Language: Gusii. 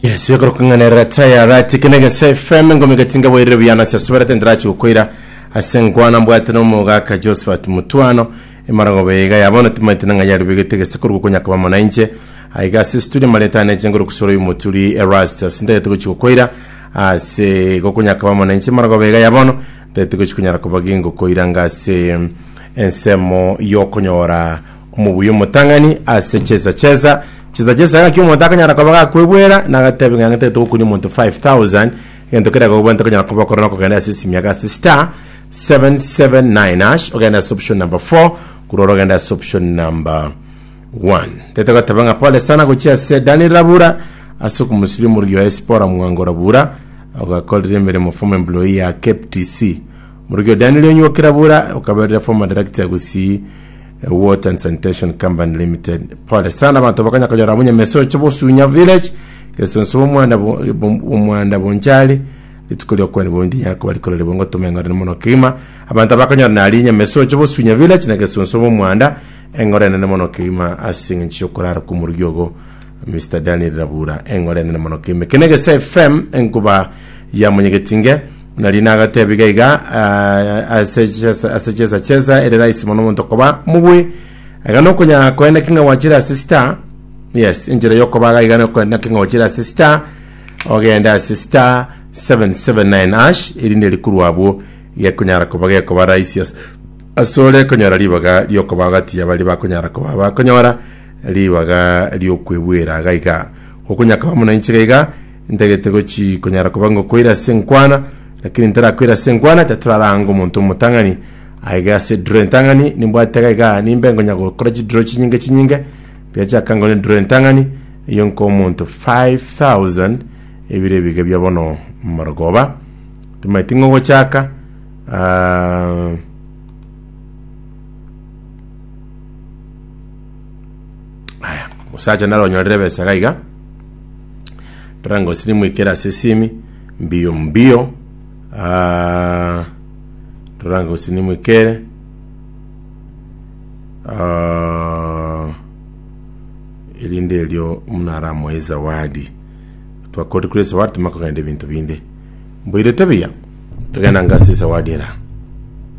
Yes, ekero kong'anerera tayara tikene gese FM ngome gatinga bwairire buya nase asuberete ndirachi gokoira ase nkwana mbwate n'omogaka Josephat Mutwano emaragoba iga ya bono timaete nang'a yarubegete gese korwa konya koba mona inche aiga ase studio mareta ane inche ngoro kusoro y'omoturi Erastus ndagete gochi gokoira ase gokonya koba mona inche emaragoba iga ya bono ndagete gochi konyara koba gingokoira ngase ensemo yokonyora Omobuya omotang'ani ase chesa chesa chesa chesa gaki omonto akonyara koba gakwebwera nagatebe ng'a ng'etete gokunia omonto 5000 egento keria gokobwate konyara koba okore nokogenda ase esimi yako ase star 779 hash ogende ase option number 4 korwa oro ogende ase option number 1 tete goteba ng'a pole sana gochia ase Daniel Rabura ase okomosuria omorugi oye Sipora Mwango Rabura ogakorire emeremo former employee ya KPTC Omorugi o Daniel Onywoki Rabura okaberire former director Gusii Water and Sanitation Company Limited. Pole sana abanto bakanya konyora abwo Nyamesocho Bosunya Village Gesonso bomwanda bo- bom- omwanda Bonchari rituko riokwani bondi nyara koba rikoreri bongo toma eng'orene mono kegima abanto abakonyora nari Nyamesocho Bosunya Village na Gesonso bomwanda eng'ore enene mono kegima ase eng'encho yokorara kw'omorugi ogo Mr Daniel Rabura eng'ore enene mono kegima eke negese FM enkuba ya monyegetinge Nari nagatebia iga iga ah, ase chesa ase chesa chesa ere rahisi mono omonto koba mobui iga nokonya koenda ki ng'a gwachire ase star yes enchera yokoba iga iga nokoenda ki ng'a gwachire ase star ogende ase star 779 hash erinde rikorwa abwo gekonyara koba gekoba rahisi ase asore konyora ribaga riokoba gati ya baria bakonyara koba bakonyora ribaga riokwebwera iga iga gokonya koba muna inche iga iga Ntagete gochi konyara koba ngokoira ase enkwana, lakini ntarakoira ase enkwana tatoraranga omonto omotang'ani aiga ase edraw entang'ani nimbwate iga iga nimbe ngonya gokora chidraw chinyinge chinyinge mbiachaka ngore edraw entang'ani eyio nkoa omonto 5000 ebire ebiga bia bono marogoba timaeti ng'o ogochaka ah, aya omosacha nare onyorire ebesa iga iga. Rora nimwikere ase esimi mbio mbio ah, rora gose nimwikere ah, erinde erio muna aramoe zawadi twakori kure zawadi tumanye kogenda ebinto binde mboirete buya togenda anga ase zawadi era.